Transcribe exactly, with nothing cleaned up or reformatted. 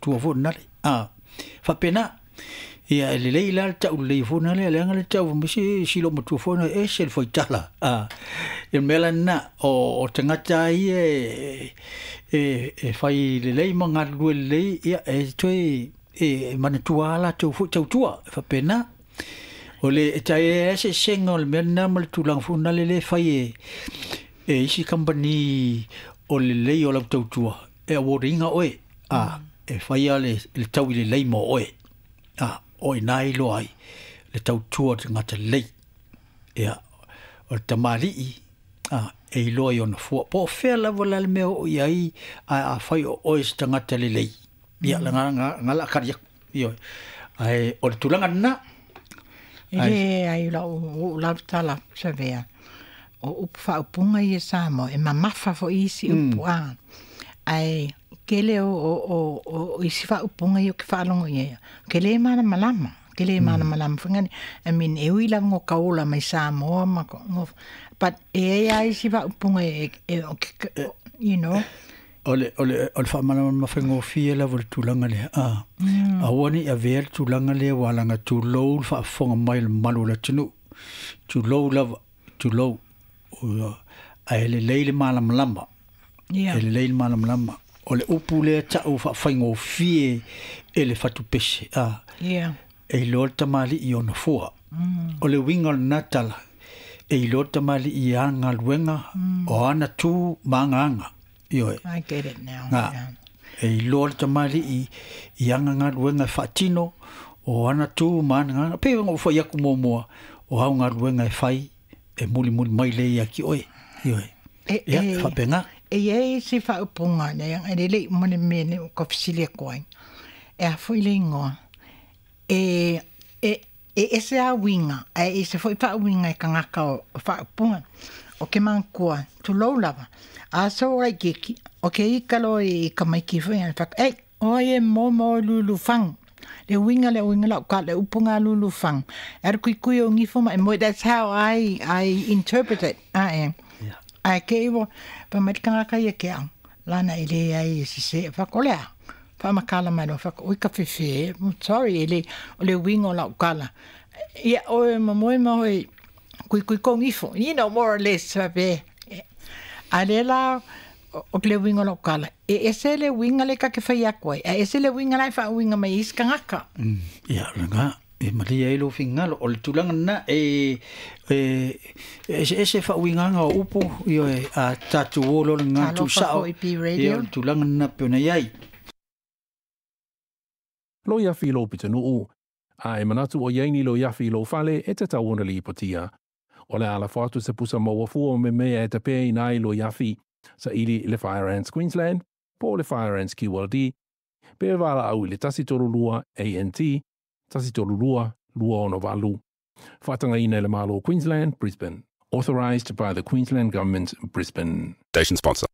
Tua foi nale. A faapena. Ia e lelei la le ta'u lelei foi nale leaga le ta'u misi silo matua foi na e ese le faitala. A e mea lena o o tagata ia e e e fai lelei ma galulue lelei ia e toe e manatua latou foi tautua e faapena. O le e tai eseesega o le mea lena ma le tulaga foi nale lea e fai e e isi kamupani o lelei o lau tautua e award ina oe a e faia le le taui lelei mo oe a o ina e iloa ai le tautua o le tagata lelei. Ia o le tamalii a e iloa i ona fua po o fea lava la le mea o oo i ai ae afai o oe se tagata lelei ia mm. nga nga nga la kari aku ioe ae o le tulaga lena. E le ai lau uu lava tala savea. O upu faaupuga ia Samoa, e mamafa foi isi upu a. Ae tele o, o, o, o isi faaupuga ia ou te faalogo i ai, ou te le malamalama. Ou te le malamalama foi ngani. I mean, e ui lava ngo ka ola mai Samoa ma ko, ngo, but e i ai lava isi faaupuga e, e, o ke, you know. O le o le o le faamalamalama faigofie lava o le tulaga lea a aua ne i avea le tulaga lea ua alaga tulou le faafofoga mai o le mamalu o le atunuu tulou lava tulou ae lelei le malamalama Yeah. e lelei le malamalama o le upu lea ta'u faafaigofie e le fatupese a Yeah. e iloa le tamalii i ona fua o le uiga o lena tala e iloa le tamalii i ana galuega o ana tu ma agaaga ioe. I get it now. Nga. Yeah. E iloa le tamalii i ana galuega e faatino o ana tu ma ana agaaga pe ona ou fai aku muamua o au galuega e fai e mulimuli mai lea ia te oe ioe. E, Ia e, faapena. E i ai isi faaupuga lea e lelei uma le mea lea ua ka fesili atu ai. E a foi le igoa. E, e, e ese a uiga, ae ese foi faauiga e tagata o, o faaupuga. O ke manatua, tulou lava. A so laitiiti, o ke ika loa i tamaiti foi a fai, ei, oe e momo o lulufaga. Le uiga le uiga lau ka le upu ga lulufaga. E alu kuikui o gifo ma e moe. That's how I, I interpret it. A e. Ia. Ae ke iwa, pa mai le tagata ia ke au. Lana e le ai e sese, fai atu o le a. Faamatala mai loa, fai atu, oi ka fefe, sorry, e le, o le uiga o lau tala. Ia, oe mamoe ma oe, kuikui kou gifo, you know, more or less, faapea. A lea la, o le uiga o lau tala, e ese le uiga lea ta te fai atu ai, ae ese le uiga la e faauiga mai ai isi tagata. Mm, ia lena e malie ai lou finagalo o le tulaga lena e e eseese faauigaga o upu ioe a tatou o loa le gagana Talofa tuusa'o foi P ia o Radio. le tulaga lena pei ona i ai. Loiafi i lou pitonuu. A e manatu o i ai ni loiafi i lou fale, e tatau ona lipotia. O le a lafo atu se pusa maua fua o memea e tapeaina ai loiafi, saili i le Fire Ants Queensland, po o le Fire Ants Q L D, pe valaau i le tasi tolu lua A N T, tasi tolu lua, lua ono valu. Faatagaina e le Malo o Queensland, Brisbane. Authorised by the Queensland Government, Brisbane. Station sponsor.